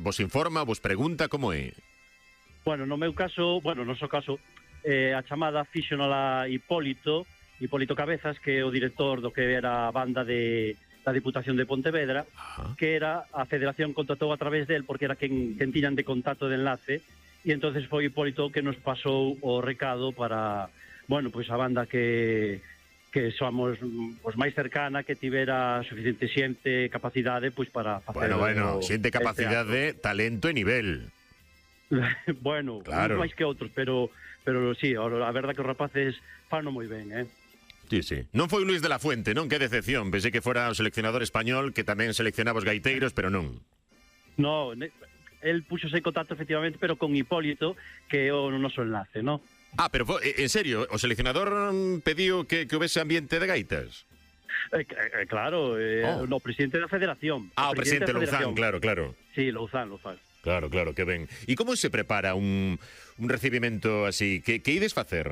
vos informa, vos pregunta, como é? Bueno, no meu caso, no noso caso, a chamada fíxonola Hipólito Cabezas, que é o director do que era a banda da Diputación de Pontevedra, que era a Federación contratou a través del, porque era quen tiñan de contacto de enlace, e entonces foi Hipólito que nos pasou o recado para, bueno, pois a banda que somos os máis cercana, que tivera suficiente xente, capacidade, pois para facer... Bueno, xente, capacidade, talento e nivel. Bueno, claro. máis que outros, pero sí, a verdad que os rapaces fano moi ben, Sí. Non foi Luis de la Fuente, non? Que decepción. Pensei que fora o seleccionador español, que tamén seleccionaba os gaiteiros, pero non. No, el puxose en contacto efectivamente, pero con Hipólito, que é o noso enlace, non? Pero en serio, o seleccionador pediu que houvese ambiente de gaitas? Claro, o presidente da Federación. O presidente Louzán, claro. Sí, Louzán. Claro, que ben. E como se prepara un recibimento así? Que ides facer?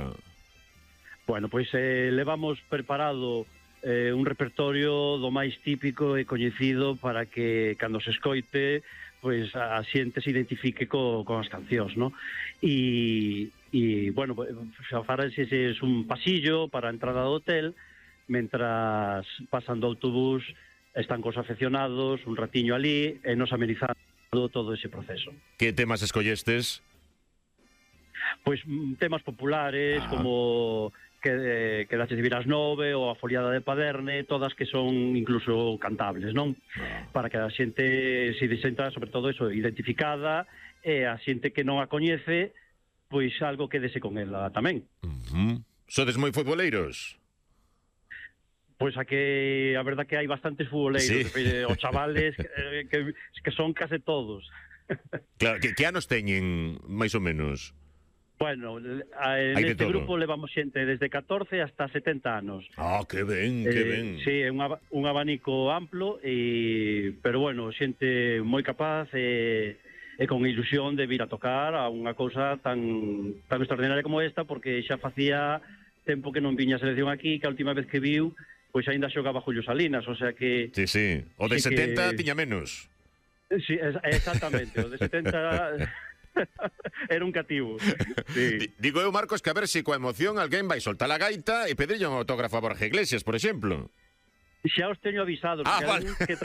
Bueno, pois levamos preparado un repertorio do máis típico e coñecido para que cando se escoite pois a xente se identifique con as cancións, non? E bueno, xa farase un pasillo para a entrada do hotel, mentras pasan do autobús están cos afeccionados un ratiño ali e nos amenizando todo ese proceso. Que temas escollestes? Pois temas populares como que daches de vir ás 9 ou a foliada de Paderne, todas que son incluso cantables, non? Para que a xente se senta, sobre todo eso, identificada, e a xente que non a coñece, pois algo quedese con ela tamén. Sodes moi futboleiros? Pois a verdad que hai bastantes futboleiros, os chavales que son case todos. Claro, que anos teñen, máis ou menos? Bueno, neste grupo levamos xente desde 14 hasta 70 anos. Que ben, que ben. Sí, é un abanico amplo, pero bueno, xente moi capaz e con ilusión de vir a tocar a unha cousa tan extraordinaria como esta, porque xa facía tempo que non viña a selección aquí, que a última vez que viu, pois aínda xogaba Julio Salinas, o sea que... Sí, o de 70 tiña menos. Sí, exactamente, o de 70... Era un cativo. Sí. Digo eu, Marcos, que a ver se coa emoción alguén vai soltar a gaita e pedirlle un autógrafo a Borja Iglesias, por exemplo. Xa os teño avisados, que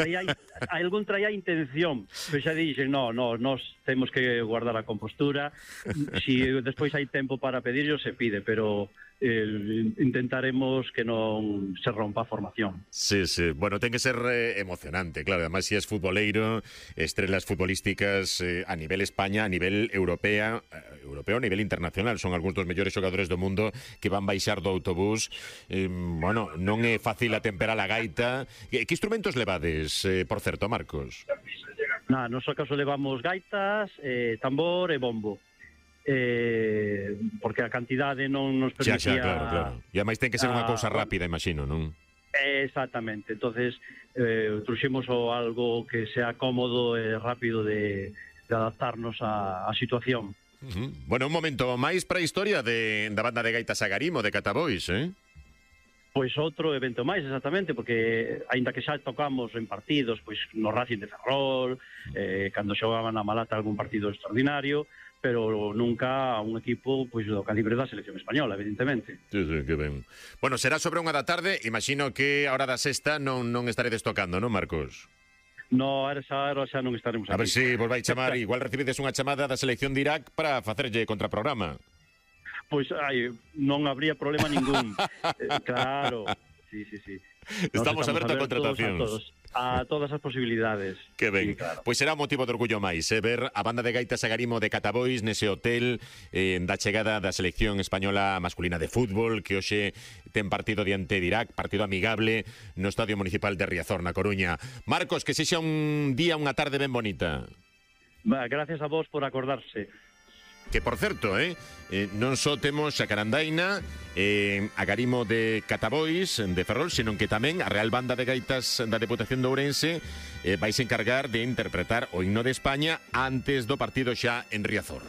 algún traía intención, pero xa dixen, nós temos que guardar a compostura, si despois hai tempo para pedirlo, se pide, pero intentaremos que non se rompa a formación. Sí, bueno, ten que ser emocionante, claro, además si es futboleiro, estrelas futbolísticas a nivel España, a nivel europeo, a nivel internacional, son algúns dos mellores xogadores do mundo que van baixar do autobús. Bueno, non é fácil atemperar a gaita. Que instrumentos levades, por certo, Marcos? No noso caso levamos gaitas, tambor e bombo. Porque a cantidade non nos permitía... Claro. E ademais ten que ser unha cousa rápida, imagino, non? Exactamente, entonces trouxemos algo que sea cómodo e rápido de adaptarnos á situación. Bueno, un momento máis para a historia da banda de gaitas Agarimo de Catabois, Pois outro evento máis, exactamente, porque aínda que xa tocamos en partidos, pois no Racing de Ferrol, cando xogaban a Malata algún partido extraordinario, pero nunca a un equipo pois do calibre da selección española, evidentemente. Sí, que ben. Bueno, será sobre unha da tarde, imagino que a hora da sexta non estaredes tocando, non, Marcos? No, a esa hora xa non estaremos aquí. A ver se vos vai chamar, igual recibides unha chamada da selección de Irak para facerlle contraprograma. Pois non habría problema ningún. Claro, sí. Estamos abertos a contratacións. A todas as posibilidades. Que ben. Sí, claro. Pois será un motivo de orgullo máis, ver a banda de gaitas Agarimo de Catabois nese hotel da chegada da selección española masculina de fútbol, que hoxe ten partido diante de Irak, partido amigable no Estadio Municipal de Riazor, na Coruña. Marcos, que sexa un día, unha tarde ben bonita. Gracias a vos por acordarse. Que, por certo, non só temos a Carandaina, Agarimo de Catabois, de Ferrol, senón que tamén a Real Banda de Gaitas da Deputación de Ourense vais encargar de interpretar o himno de España antes do partido xa en Riazor.